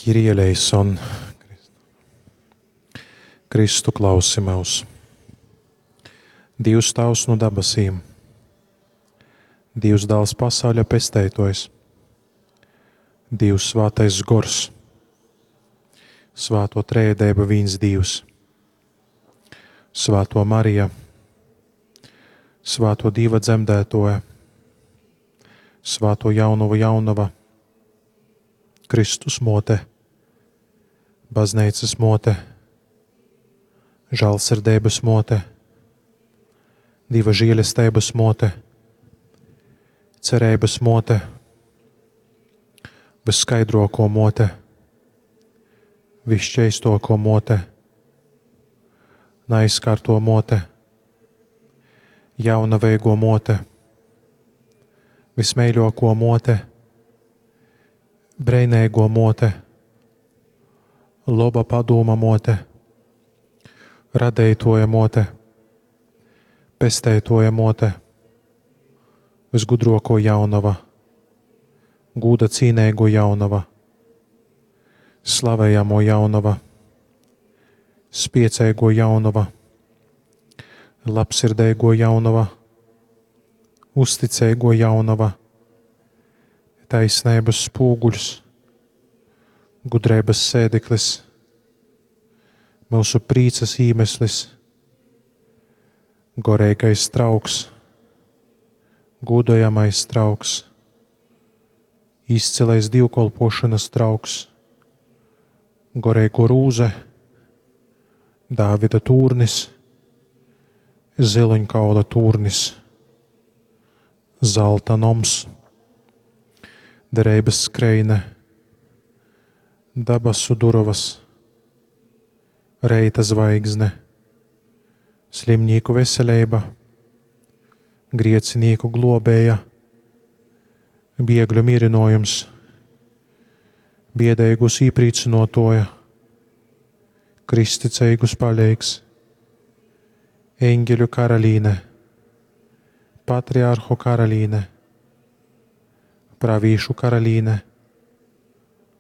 Kyrie eleison. Kristu klausi myus. Dīvs Tāvs nu dabasīm, Dīvs Dāls pasauļa pesteitōjs, Dīvs Svātais Gors, Svāto Trejadeiba vīns Dīvs, Svātō Marija, Svātō Dīva dzemdētōja, Svātō Jaunovu Jaunova, Kristus mōte, Bazneicas mōte, žālsirdeibas mōte, Dīva žēlesteibas mōte, cereibas mōte, vysskaidrōkō mōte, visšķeistōkō mōte, naizkārto mōte, jaunaveigo mōte, vismeiļōkō mōte, breineigo mōte, loba padūma mōte, radeitoja mōte, pesteitoja mōte, visgudrōkō jaunova, gūda cīneigo jaunova, slavejamo jaunova, spieceigo jaunova, labsirdeigo jaunova, uzticeigo jaunova, taisneibas spūguļs, gudreibas sēdeklis, myusu prīcas īmeslis, goreigais trauks, gūdojamais trauks, izcilais dīvkolpōšanas trauks, goreigo rūze, Dāvida tūrnis, ziluņkaula tūrnis, zalta noms, dereibas skreine, dabasu durovas, reita zvaigzne, slimnīku veseleiba, griecinīku globēja, biegļu mīrinojums, biedeigus īprīcynuotuoja, kristticeigus paleigs, eņgeļu karalīne, patriarhu karalīne, pravīšu karalīne,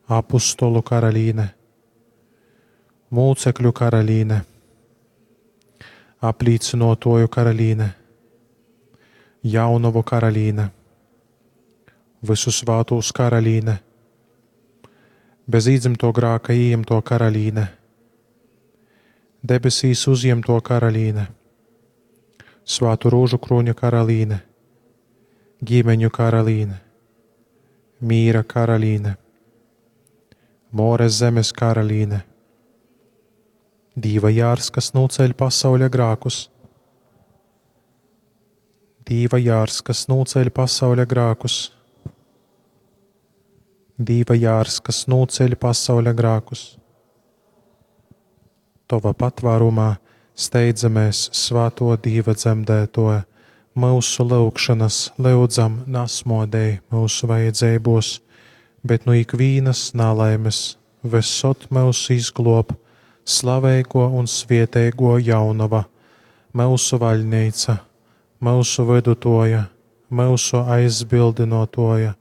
apustolu karalīne, mūcekļu karalīne, aplīcynuotuoju karalīne, jaunovu karalīne, vysu svātūs karalīne, bez īdzymtuo grāka ījimtuo karalīne, debesīs uzjimtuo karalīne, svātu rūžu krūņa karalīne, ģimeņu karalīne, mīra karalīne, Mōres zemes karalīne, Dīva jārs, kas nūceļ pasauļa grākus. Dīva jārs, kas nūceļ pasauļa grākus. Dīva jārs, kas nūceļ pasauļa grākus. Tova patvārumā steidzamies, svāto Dīva dzemdētoja, myusu lyugšanas lyudzam nasmodēj myusu vajadzeibos, bet nu ikvīnas nalaimes vysod myus izgluob slaveigo un svieteigo jaunova, myusu vaļneica, myusu vydutuoja, myusu aizbildynuotuoja,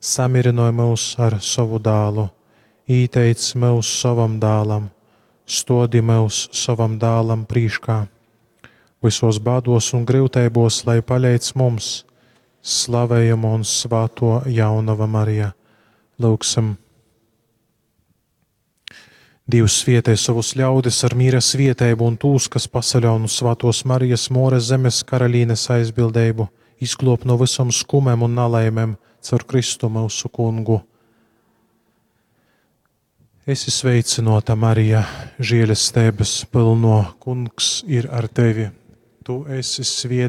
samirinoj myus ar sovu dālu, īteic myus sovam dālam, stuodi myus sovam dālam prīškā. Vysos bāduos un gryuteibos, lai paleidz mums, slavejamo un svāto jaunova Marija. Lyugsim! Dīvs svietej sovus ļaudis ar mīra svieteibu un tūs, kas pasaļaun uz svātos Marijas Mōres zemes karalīnes aizbildeibu, izgluob no vysom skumem un nalaimem caur Kristu myusu kungu. Esi sveicynōta, Marija, žielesteibys pylnuo, Kungs ir ar tevi. Tu esi svieteiga.